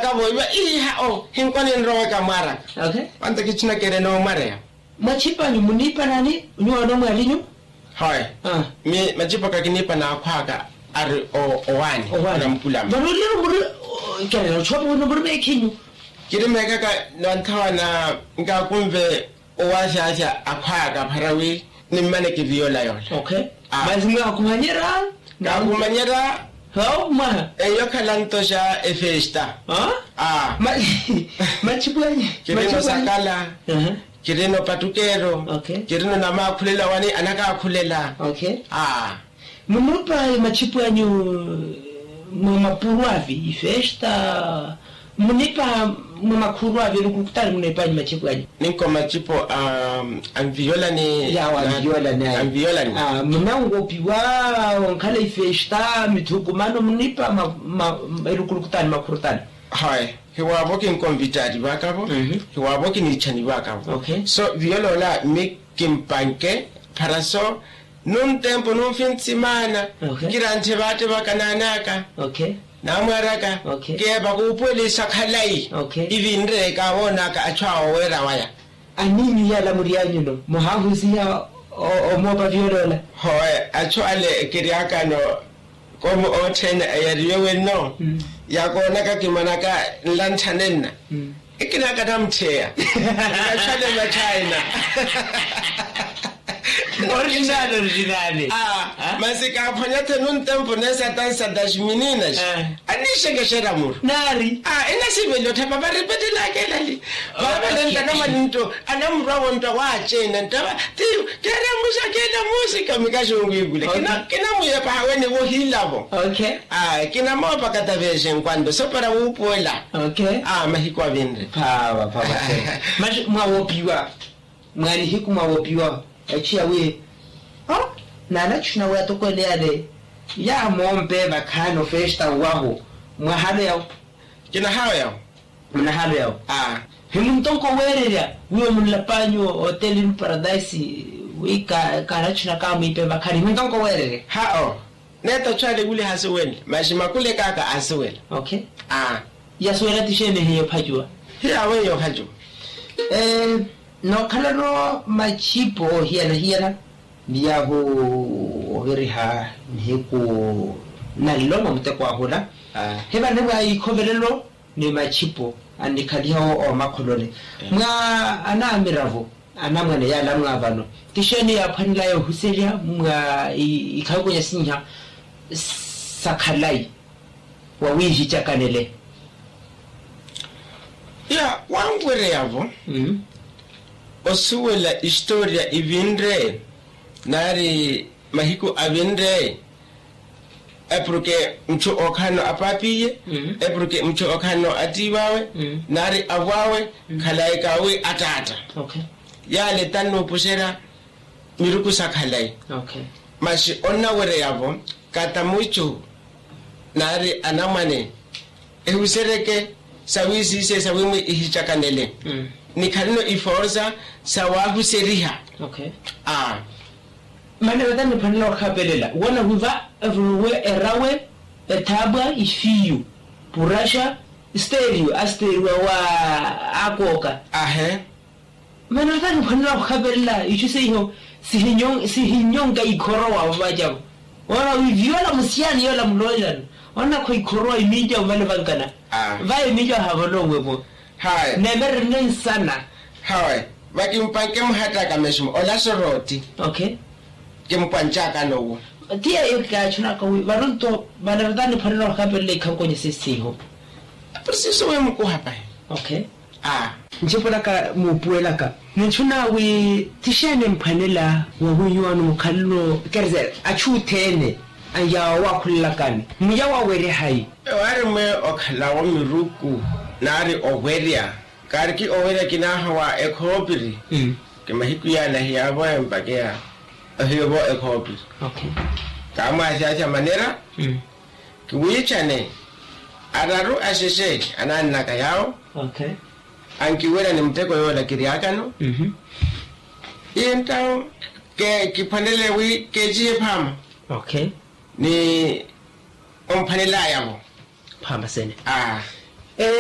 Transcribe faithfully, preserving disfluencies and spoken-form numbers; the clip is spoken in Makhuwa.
Kavo iva iha o hinkoni nroweka mwaraka. Wanta kichina kere no mwareya. Mwachipanyu munipanani? Nyuwa no mwalinyu? Hoye. Mi machipaka kinipa na akhwaka ari owani. Owani. Muruliro muri kere no chopo no muri mekhinyu. Kiri mekaka. Nanthawa na nkakumve owasyasya akhwaka pharawi. Nimmane kiviyola yola. Masi mwakumanyera? Kakumanyera. Eyo khalanto xa efesta. Machipu anyi? Kirino sakala. Kirino patukero. Kirino namakhulela wani anakakhulela. Munopa machipu anyu? Mwa mapuru avi ifesta. Munipa mwa makhuru avi elukulukutani munepanyu machipu anyu? Ninko machipu a anviyolani. Yawo anviyolani ayi. Munangopiwa onkhala ifesta mithukumano munipa elukulukutani makhurutani? Hayi. Hiwaavo kinkonvitaati vakavo. Hiwaavo kiniichani vakavo. So viyolola mi kimpanke pharaso. Nuntempo nunfinsimana. Kirantthe vaate vakananaka. Namwaraka. Keepa kuupuwelisa khalayi. Ivinre kawoonaka achu awo weera waya. Aninyu yala murianyuno muhahusiha omoopa vyolola. Hoye achu ale kiryakano. Komu othene eyariwe wenno yakoonaka kimanaka nlanthanenna. Ikinaka namucheya. Ngachale machina. Original original. Masi kaphwanyathe nuntempo nesatansata ximininas. Anixekexera muru nari. Inasiveli othapa varipetelaka elali. Vavelentanamani nto anamurwavo nto awachena ntava. Tiyo keremuxakela musika mikaxungu ivule. Kinamuyepaha wene vohilavo. Kinamoopaka tavexe nkwanto sopara wuupuwela. Mahiku avinre. Phava phava. Masi mwawopiwa. Mwa nihiku mwawopiwa. Echiya wi o nanachu nawe atokwene yale yamoompe vakhaani ofesta wahu. Mwahano yawo. Kinahawe yawo. Munahano yawo. Himuntonko weererya wiwo munlapanyu otelinu paradaisi wi kaanachuna kaamwiipe vakhaani himuntonko weererya. Hao. Neeta ochu ale wuli hasuwela masi makulekaka asuwela. Yasuwela tixeeni hiyo phacuwa? Hiyawe hiyo phacuwa. Nookhalano machipo hiyana hiyana. Ni yaahu oviriha nihiku naliloma muteko ahula. Hivani mwa ikhovelelo ni machipo annikhaliha omakholoni mwa anaamiravo. Anamwane yala mwaavano tixeeni yaaphwanelaya ohuserya mwa ikhakunya sinha sakhalayi wawiihicakanele? Ya wanwereyavo osuwela istoriya ivinre nari mahiku avinre. Epurke muchu ookhalano apaapiye epurke muchu ookhalano attiiw'awe nari avw'awe khalayi kawi attaatta. Yale tannuupuxerya miruku sa khalayi. Masi onnawereya-vo kata muchu nari anamwane ehusereke sawiisiise sawimwi ihicakanele nikhaleno iforsa sawahuseriha. Mane vata niphwanela ohapelela woona wiva evuruwe erawe ethaabwa ifiyu puraxa sterio asteriwa wa akooka. Ahe. Mane vata niphwanela ohapelela icu seiho sihinyonka ikhorowa ovacavo. Woona wi viola musiyani yola muloolelano onakho ikhorowa imiicawo mane vankana. Vaye miicawo havolowe vo. Neemererene nsana. Hawe vakimpanke muhattaka mesmo ola sorootti. Kimpwanchaka nowo. Ti yeyo kikaachunaka wi varonto vana vata niphwanela ohapelela ikhankonye sesiho. Preciso wi mukuha pahi. Aa. Nchipulaka muupuwelaka ninchuna wi tixeeni mphwanela wawinyu wano mukhalelo kerese achu othene anyawa wakhulelakani muya wawerya hayi? Ewaari mwe okhalawo miruku nari owerya. Kaariki owerya kinaha wa ekhoopiri. Kimahiku yaana hiyaavo empakeya ohiyo vo ekhoopiri. Kaamwaasyaasya manera kiwiichane araru axexe anaannaka yaawo. Ankiwerya ni muteko yoola kiryakano. Entawo kiphwanele wi keecihe phaama. Ni omphwanelaya-vo. Phaama sene. Aa.